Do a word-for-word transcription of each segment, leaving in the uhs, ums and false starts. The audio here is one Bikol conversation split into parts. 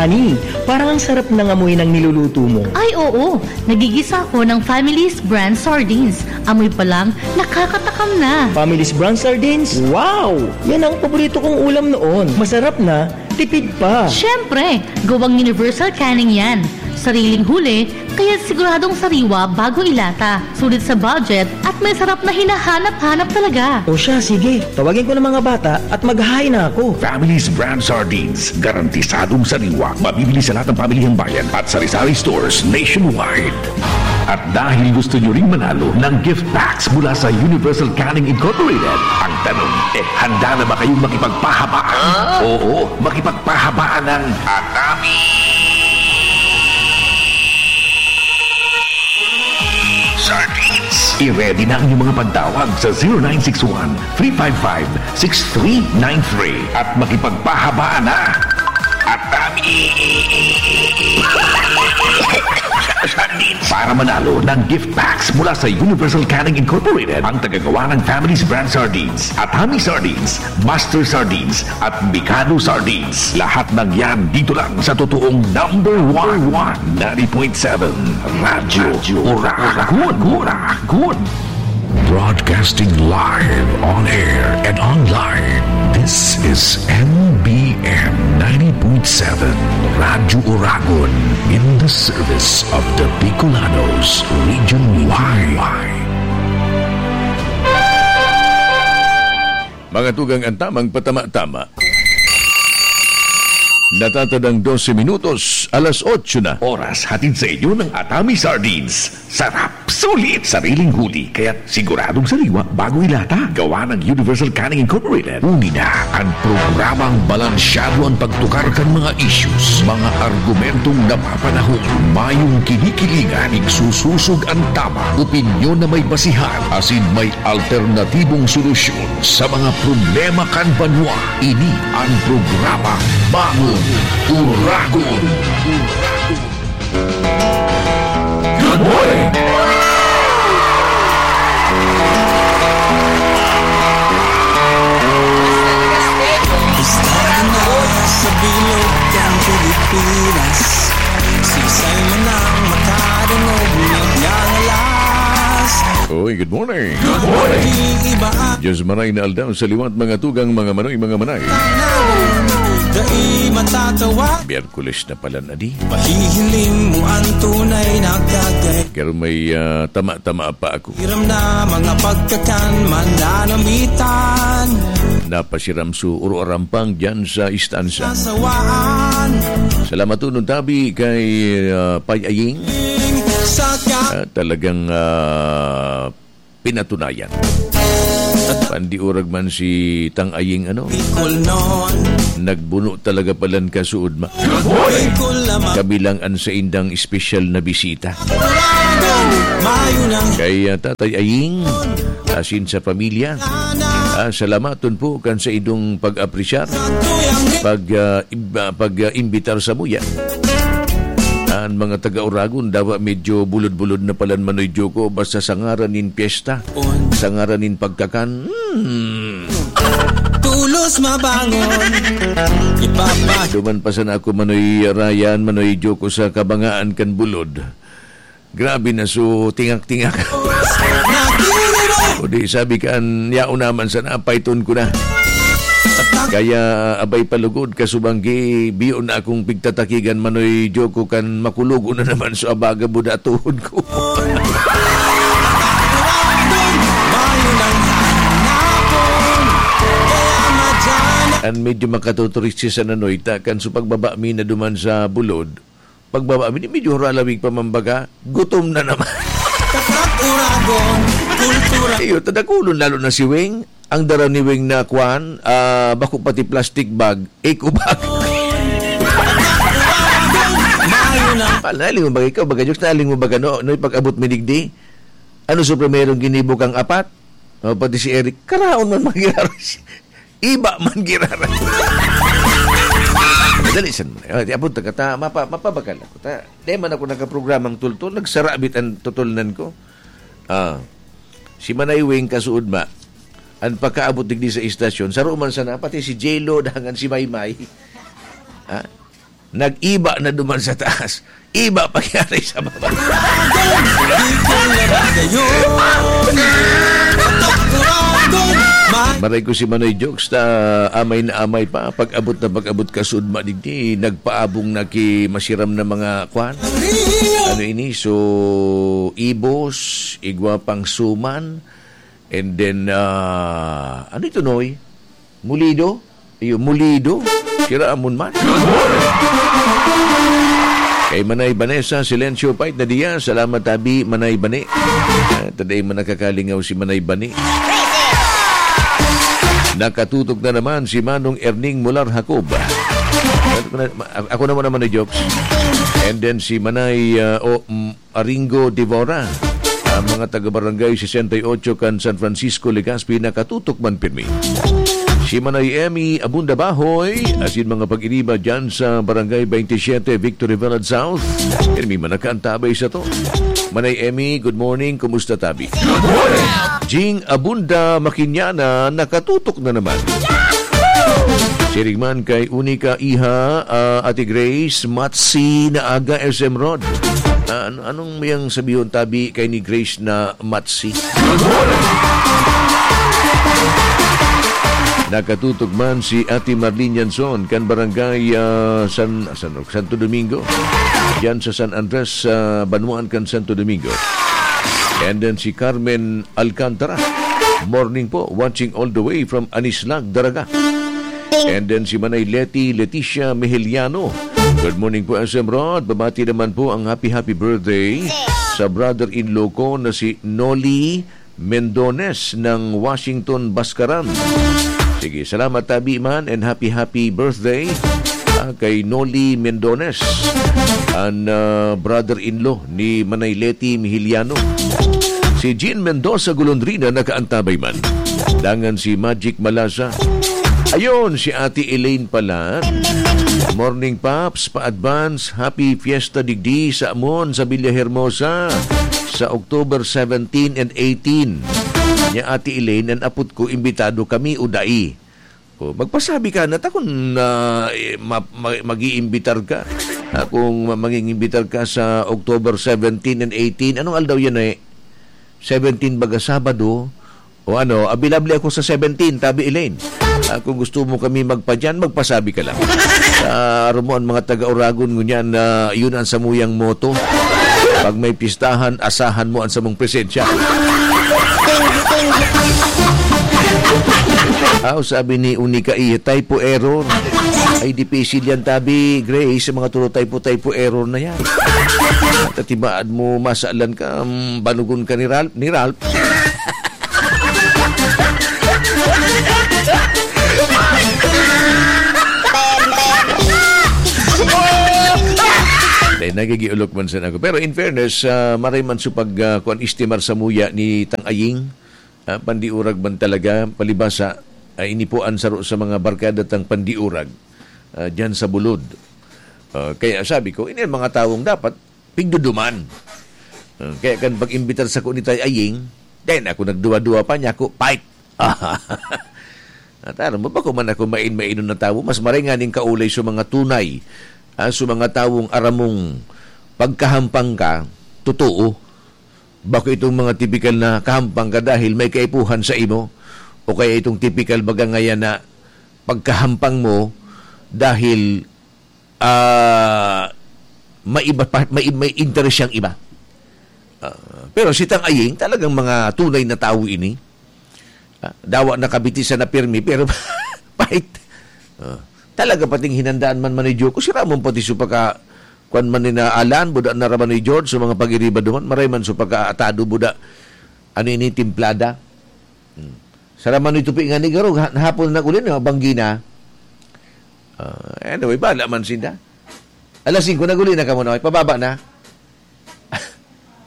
Ani, parang ang sarap ng amoy ng niluluto mo. Ay, oo. Nagigisa ako ng Family's Brand Sardines. Amoy pa lang, nakakatakam na. Family's Brand Sardines? Wow! Yan ang paborito kong ulam noon. Masarap na, tipid pa. Siyempre, gawang universal canning yan. Sariling huli, kaya siguradong sariwa bago ilata. Sulit sa budget at may sarap na hinahanap-hanap talaga. O siya, sige. Tawagin ko ng mga bata at maghahain na ako. Family's Brand Sardines, garantisadong sariwa. Mabibili sa lahat ng pamilihang bayan at sari-sari stores nationwide. At dahil gusto nyo ring manalo ng gift packs mula sa Universal Canning Incorporated, ang tanong, eh, handa na ba kayong makipagpahabaan? Oo, makipagpahabaan ng Atami Sardines. I-ready na ang inyong mga pagtawag sa zero nine six one, three five five, six three nine three at makipagpahabaan na. Atami Sardines. Para manalo ng gift packs mula sa Universal Canning Incorporated, ang tagagawa ng Family's Brand Sardines, Atami Sardines, Master Sardines, at Mikado Sardines. Lahat ng yan dito lang sa totoong number one, ninety point seven Radyo Oragon. Oragon. Broadcasting live, on air, and online. This is M B M ninety point seven Radyo Oragon, in the service of the Bicolanos, Region Y. Mga tugang, ang tamang patama-tama. Natatadang dose minutos, alas otso na. Oras hatid sa inyo ng Atami Sardines. Sarap, sulit, sariling huli, kaya't siguradong sariwa bago ilata. Gawa ng Universal Canning Incorporated. Uni na ang programang balansyado ang pagtukar kan mga issues, mga argumentong napapanahon, mayong kinikilingan, igsusosog ang tama, opinyon na may basihan, asin may alternatibong solusyon sa mga problema kan banwa. Ini ang programa Bangon Oragon. Good morning! Basta na sa bilog kan Pilipinas, sisay man ang makadangog, magngangalas. Oy, good morning. Good morning. Diyos maray na aldaw sa liwat, mga tugang, mga manoy, mga manay. Dai matatawa. Miyerkules na pala na di. Pahihiling mo ang tunay na kagay. Pero may, ah, tama-tama pa ako. Hiram na mga pagkakan, mananamitan. Napasiram su uro arampang dyan sa istansa. Sasawaan. Salamat unon tabi kay, ah, Pay Aying. Sa ka- Ah, talagang, ah, pinatunayan. Pandiurag man si Tang Aying, ano? Bicol noon. Nagbuno talaga palan kasuod ma. Bicol lamang. Kami lang ang saindang espesyal na bisita. Mayo nang Kay, ah, Tatay Aying, asin sa pamilya. Ah, salamaton po kan sa idong pag-apresyar, pag, ah, ib-, ah, pag, ah, imbitar sa muya. An mga taga-Oragon, dawa medyo bulod-bulod na palan, Manoy Joko, basta sa ngaran nin pyesta, sa ngaran nin pagkakan, hmm. Tulos mabangon, ipapa- Duman pa sana ako, Manoy Ryan, Manoy Joko, sa kabangaan kan bulod. Grabe na, so tingak-tingak. O di, sabi kan, yaon naman sana, paiton ko na. Kaya, abay, palugod, kasubanggi, biyo na akong pigtatakigan, Manoy Joko, kan makulogo na naman, so abaga, buda tuhod ko. An medyo makatuturistis sa nanoy, ta, kan so pagbaba mi na duman sa bulod, pagbaba mi, medyo huralawig pa man baga, gutom na naman. Tatak Uragon, kultura. Iyo, tadakulon, lalo na si Weng. Ang dara ni Weng na kwan, ah, bako pati plastic bag, eco bag. Mayo na. Pal, naaling mo ba ikaw? Baga, Jokes, naaling mo ba gano? No, pag-abot mi digdi? Ano sa primerong ginibo kang apat? O, pati si Eric, karaon man magiraros. Iba man giraran. Dali, san mo na? Ay, di, abot na ka, ta, mapa-, mapabakal ako, ta. Di man ako nakaprogramang tultol, nagsarabit ang tutulnan ko. Ah, si Manay Weng kasuod ma, ang pagkaabot digdi sa istasyon, saro man sana, pati si J-Lo, dangan si Maymay. Ha? Nag-iba na duman sa taas. Iba pa kaya sa baba. Maray ko si Manoy Jokes, ta amay na amay pa. Pag-abot na pag-abot ka sud, madigdi, nagpaabong na ki masiram na mga kwan. Ano ini? So, ibos, igwa pang suman, and then, ah, ano ito, Noy? Mulido? Iyo, mulido? Sira amon man. Kay Manay Vanessa Silencio Pait na diya, salamat tabi, Manay Bani. Ah, taday man nakakalingaw si Manay Bani. Nakatutok na naman si Manong Erning Mular Jacob. Ako na, ako naman naman ni Jokes. And then si Manay, ah, o, mm, Aringo Devora. Ang mga taga-barangay sesenta y ocho kan San Francisco, Legazpi, nakatutok man pirmi. Si Manay Emmy Abunda Bahoy, asin mga pag-iriba dyan sa Barangay twenty-seven, Victory Village South. Pirmi man nakaantabay sa to. Manay Emmy, good morning. Kumusta, tabi? Jing Abunda Makinyana, nakatutok na naman. Siring man kay Unica Iha, ah, Ate Grace, Matsi na aga, S M Rod. Ah, ano, anong mayang sabihon tabi kay ni Grace na Matsi? Nakatutok man si Ate Marlene Yanson kan barangay, ah, San, San, Santo Domingo. Diyan sa San Andres, sa Banwaan kan Santo Domingo. And then si Carmen Alcantara. Morning po, watching all the way from Anislag, Daraga. And then si Manay Leti, Leticia Mejeliano. Good morning po, S M Rod. Babati naman po ang happy, happy birthday sa brother-in-law ko na si Noli Mendones ng Washington, Bascaran. Sige, salamat tabi man and happy, happy birthday, ah, kay Noli Mendones, an, ah, brother-in-law ni Manay Leti Mihiliano. Si Jean Mendoza Golondrina nakaantabay man. Dangan si Magic Malasa. Ayun, si Ate Elaine pala. Morning, Paps. Pa-advance, happy fiesta digdi sa amon sa Villa Hermosa sa October seventeen and eighteen. Nya, Ate Elaine, an apot ko, imbitado kami o dai? O, magpasabi ka na, ta kun, ah, eh, ma-, ma-, mag-iimbitar ka. Ah, kung ma-, mangingimbitar ka sa October seventeen and eighteen, anong aldaw yan, eh? Seventeen baga, Sabado. O ano, available ako sa seventeen, tabi, Elaine. Ah, kung gusto mo kami magpadyan, magpasabi ka lang. Sa aro mo ang mga taga-Oragon, ngunyan na yun ang samuyang motto. Pag may pistahan, asahan mo ang samong presensya. Aw, sabi ni Unica, "Iya, typo error." Ay, dipisil yan, tabi, Grace, sa mga turo typo, typo error na yan. Tatibaad mo, masalan ka, um, banugon ka ni Ralph, ni Ralph. Dahil nagigiulok man sana ako. Pero in fairness, ah, maray man sa pag, ah, kuwan, estimar sa muya ni Tang Aying, ah, pandiurag man talaga, palibasa, ah, ini po ang saro sa mga barkada tang pandiurag, ah, dyan sa Bulod. Ah, kaya sabi ko, ini ang mga tawong dapat pigduduman. Ah, kaya kan pag-imbitar sako ni Tay Aying, then ako nagduwa-duwa pa niya ako, fight! At aram mo ba, kung man ako main-mainon na tawo, mas maray nga ning kaulay sa mga tunay, ah, sa mga tawong aramong pagkahampang ka, totoo. Bako itong mga tipikal na kahampang ka dahil may kaipuhan sa imo, o kaya itong tipikal baga ngayan na pagkahampang mo dahil, ah, may iba pa, may, may interes siyang iba. Ah, pero si Tang Aying, talagang mga tunay na tawo ini. Ah, dawa nakabitisan na pirmi, pero pait. Ah, talaga pating hinandaan man man ni Joko, si Ramon pati su pagka, kwan man ni na Alan, buda na raman ni George, sa mga pag-iriba duman, maray man su pagka-atado, buda, ano ini, timplada. Hmm. Sa raman ni Tupi nga ni Garog, ha-, hapon na nag-uli na, banggi na. Ah, anyway, bala man sinda. Alas singko, nag-uli na kamo na, pababa na.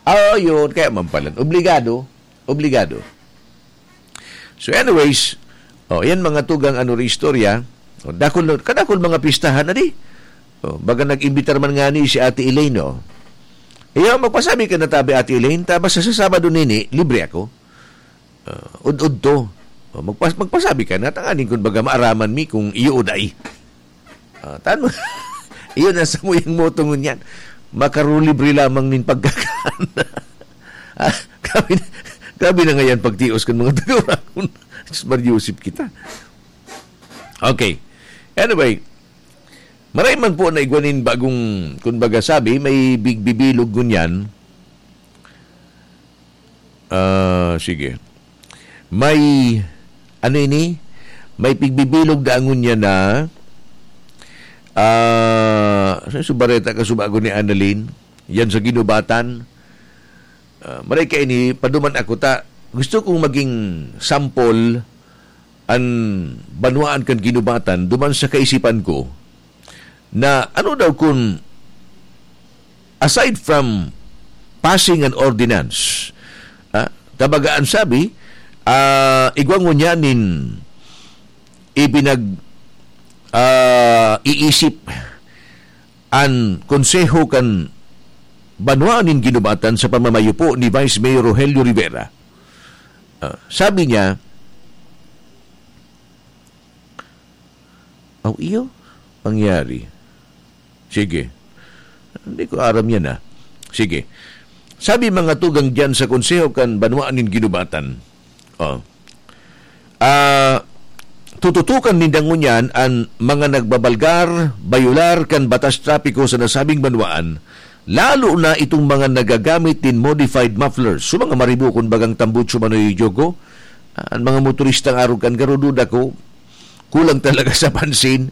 Ah, yun, kaya man pala. Obligado. Obligado. So anyways, oh, yan mga tugang ano ri istorya. Oh, dakul, kadakul mga pistahan na di. Oh, baga nag-imbitar man nga ni si Ate Elaine, oh. Iyo, magpasabi ka na tabi, Ate Elaine, ta basta sa Sabado nini, libre ako. Ah, ud-ud to. Oh, magpas-, magpasabi ka na, tanganing kun baga maaraman mi kung iyo o dai. Ah, tan-, Iyon ang samuyang moto ngunyan. Makarulibre lamang nin pagkakan. Ah, grabe na, grabe na ngayon pagtios kan mga taga-Oragon. Diyos Maria, Yusip kita. Okay. Anyway, maray man po na igwa nin bagong, kumbaga sabi, may big bibilog ngunyan. Ah, sige. May, ano ini? May pigbibilog da ngunyan na, ah, sa subareta ka subago ni Annalyn, yan sa Ginubatan. Ah, maray ka ini, paduman ako ta. Gusto kong maging sample an banwaan kan Ginubatan duman sa kaisipan ko na ano daw kun, aside from passing an ordinance, ah, tabaga an sabi, ah, igwa ngunyan nin ipinag-, ah, iisip an konseho kan banwaan nin Ginubatan sa pamamayo po ni Vice Mayor Rogelio Rivera. Ah, sabi niya, "Aw, iyo, pangyari." Sige. Hindi ko aram yan, ah. Sige. Sabi mga tugang diyan sa Konseho kan Banwaan nin Ginubatan. Oh. Ah, tututukan ninda ngunyan an mga nagbabalgar, bayular kan batas trapiko sa nasabing banwaan, lalo na itong mga nagagamit nin modified mufflers. So, mga maribukon bagang tambutso manoy jogo, ah, an mga motoristang arog kan garududa ko, kulang talaga sa pansin,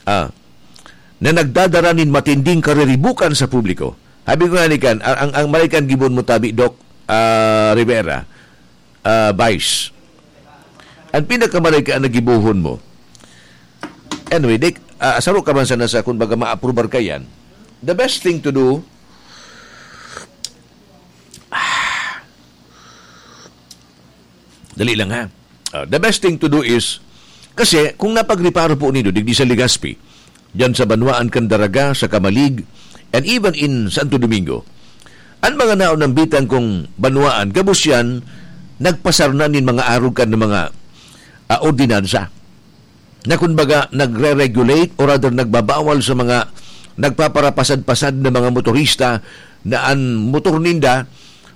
ah, na nagdadara nin matinding kariribukan sa publiko. Sabi ko nga ni kan, ang, ang, ang maray kan gibon mo tabi, Doc, ah, Rivera, ah, Vice. Ang pinakamaray ka ang nagibuhon mo. Anyway, Dick, ah, saro ka man sana sa, kumbaga, maaprubar ka yan. The best thing to do, ah, dali lang, ha. Ah, the best thing to do is, kasi kung napagreparo po nindo, digdi sa Legazpi, diyan sa banwaan kan Daraga, sa Camalig, and even in Santo Domingo, an mga naonambitan kong banwaan, gabos yan, nagpasar na nin mga arog kan mga, ah, ordinansa na, kumbaga, nagre-regulate or rather nagbabawal sa mga nagpaparapasad-pasad na mga motorista na an motor ninda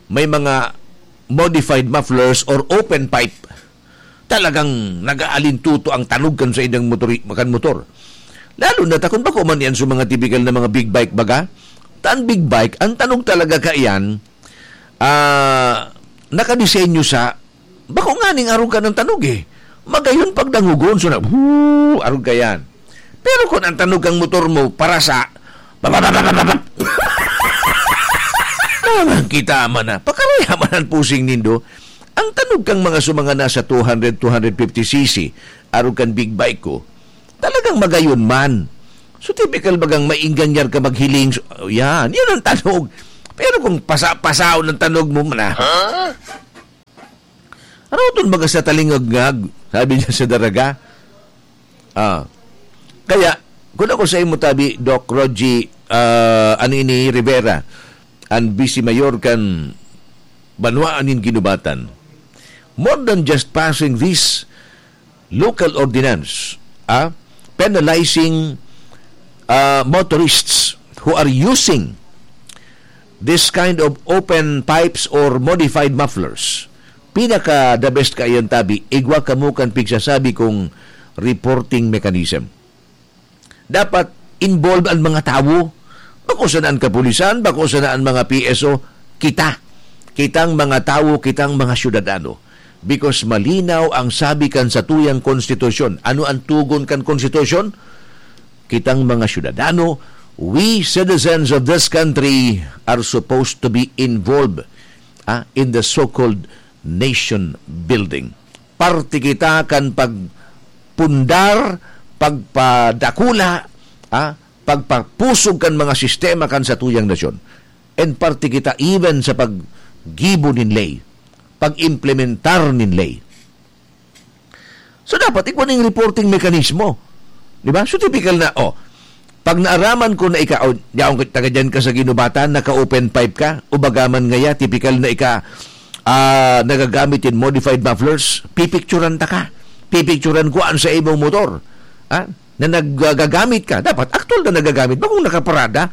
may mga modified mufflers or open pipe. Talagang nag-aalintuto ang tanog kan saindang motori-, kan motor. Lalo na ta kun bako man yan sa mga tipikal na mga big bike baga. Ta an big bike, ang tanog talaga kaiyan, ah, nakadesenyo sa, bako nganing arog kan tanog eh. Magayon pagdangogon, so na, "Huu!" Arog kaiyan. Pero kun ang tanog kan motor mo, parasa, babababababab. Naman kita man na, pakaraya man an pusing nindo. Ang tanog kan mga sumanga nasa two hundred, two hundred fifty C C, arog kan big bike ko, talagang magayon man. So, typical bagang mainganyar ka maghiling, so, yan, yan ang tanog. Pero kung pasa-, pasaon ang tanog mo, mana, Huh? Aroton baga sa talingagngag, sabi niya sa Daraga. Ah. Kaya, kun ako sa imo tabi, Doc Rogie, ah, ano ini, Rivera, an Vice Mayor kan Banwaan nin Ginubatan, more than just passing this local ordinance, ah, penalizing, ah, motorists who are using this kind of open pipes or modified mufflers. Pinaka the best kaiyan tabi, igwa kamo kan pigsasabi kong reporting mechanism. Dapat involved ang mga tawo. Bako sana an kapulisan, bako sana an mga P S O, kita. Kitang mga tawo, kitang mga syudadano. Because malinaw ang sabi kan satuyang konstitusyon. Ano ang tugon kan konstitusyon? Kitang mga syudadano, we citizens of this country are supposed to be involved, ah, in the so-called nation building. Parte kita kan pagpundar, pagpadakula, ah, pagpapusog kan mga sistema kan satuyang nasyon. And parte kita even sa paggibo nin ley, pag-implementar nin ley. So, dapat igwa ning reporting mekanismo. Di ba? So, typical na, oh, pag naaraman ko na ika, oh, yaon ka, taga dyan ka sa Ginubatan, naka-open pipe ka, o baga man ngaya, typical na ika, ah, nagagamit yung modified mufflers, pipicturan ta ka. Pipicturan ko an sa imong motor. Ha? na nagagamit ka, dapat aktual na nagagamit, bakong nakaparada.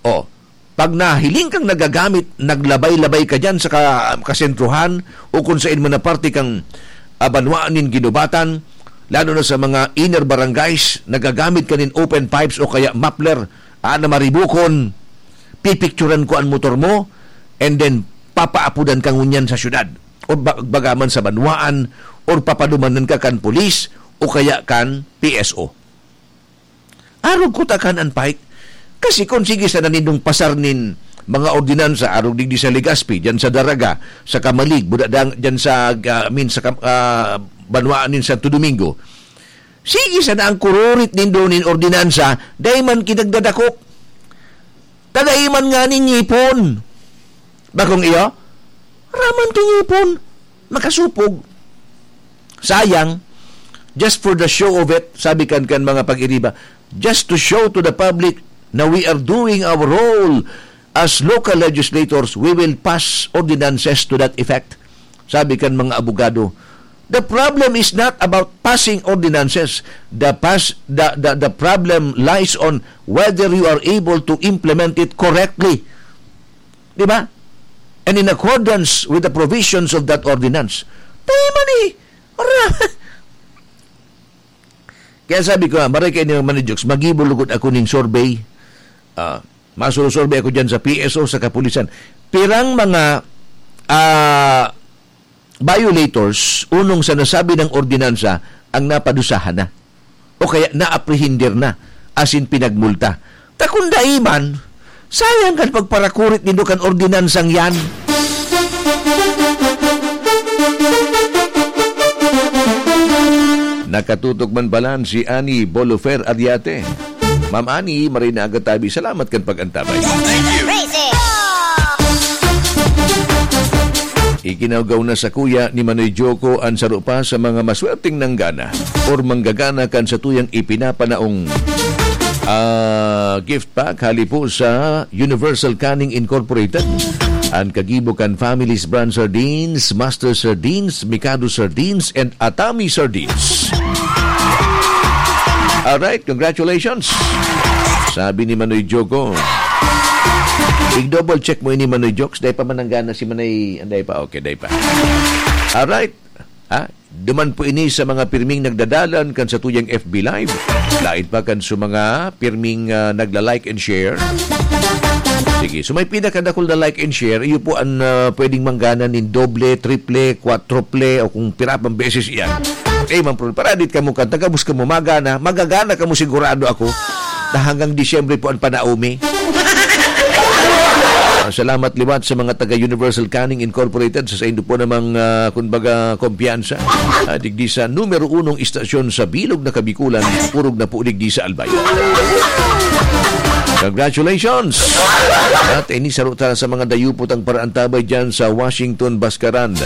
O, pag nahiling kang nagagamit, naglabay-labay ka diyan sa ka-, kasentruhan o kung sain man na parte kang, ah, banwa nin ginubatan, lalo na sa mga inner barangays, nagagamit ka nin open pipes o kaya muffler, ah, na maribukon, pipicturan ko an motor mo, and then papaapodan ka ngunyan sa syudad, o ba-, baga man sa banwaan, or papadumanan ka kan pulis, o kaya kan P S O. Arog kutakan an pike. Kasi kung sige sana nindong pasar nin mga ordinansa, arog digdi sa Legazpi, dyan sa Daraga, sa Camalig, buda dang-, dyan sa, ah, I mean, sa kam-, ah, banwaan nin Santo Domingo, sige sana ang kururit nindo nin ordinansa, dai man kinagdadakop. Ta dai man ngani ngipon. Bakong iyo? Raman ki ngipon. Makasupog. Sayang. Just for the show of it, sabi kan, kan mga pag-iriba, just to show to the public na we are doing our role as local legislators, we will pass ordinances to that effect. Sabi kan mga abogado, the problem is not about passing ordinances. The pas-, the, the, the problem lies on whether you are able to implement it correctly. Di ba? And in accordance with the provisions of that ordinance. Tayo man eh. Ara. Kaya sabi ko, ah, maray kayo ni Manoy Jokes, magibo lugod ako ning survey. Ah, masusurvey ako dyan sa P S O, sa kapulisan. Pirang mga, ah, violators, unong sa nasabi ng ordinansa, ang napadusahan na. O kaya naaprehender na, asin pinagmulta. Ta kung dai man, sayang kan pagparakurit nindo kan ordinansang yan. Nakatutok man balan si Annie Bolofer Ariate. Ma'am Annie, maray na aga tabi. Salamat kan pag-antabay. Ikinawgaw na sa kuya ni Manoy Joko an saro pa sa mga maswerteng nanggana or manggagana kan satuyang ipinapanaong, ah, gift pack hali po sa Universal Canning Incorporated. An kagibo kan Family's Brand Sardines, Master Sardines, Mikado Sardines, and Atami Sardines. Alright, congratulations. Sabi ni Manoy Joko. I-double check mo ini, Manoy Jokes. Dai pa mananggana si Manoy. Anday pa, okay, dai pa. Alright. Ha? Duman po ini sa mga pirming nagdadalan kan satuyang F B Live. Lain pa kan sa mga pirming, ah, nagla-like and share. Sige, so may pinakadakul na like and share, iyo po ang, ah, pwedeng manggana nin doble, triple, quadruple, o kung pira pang beses iyan. Eh, man, pro-, paradit kamo kan, tagabos kamo magana, magagana kamo sigurado ako. Na hanggang Disyembre po ang panaumi. Ah, salamat liwat sa mga taga Universal Canning Incorporated sa saindo po namang, ah, kumbaga, kumpiyansa. Ah, digdi sa numero unong istasyon sa bilog na Kabikulan, purog na po digdi sa Albay. Congratulations! At ini saro ta sa mga dayupot ang paraantabay dyan sa Washington, Bascaran.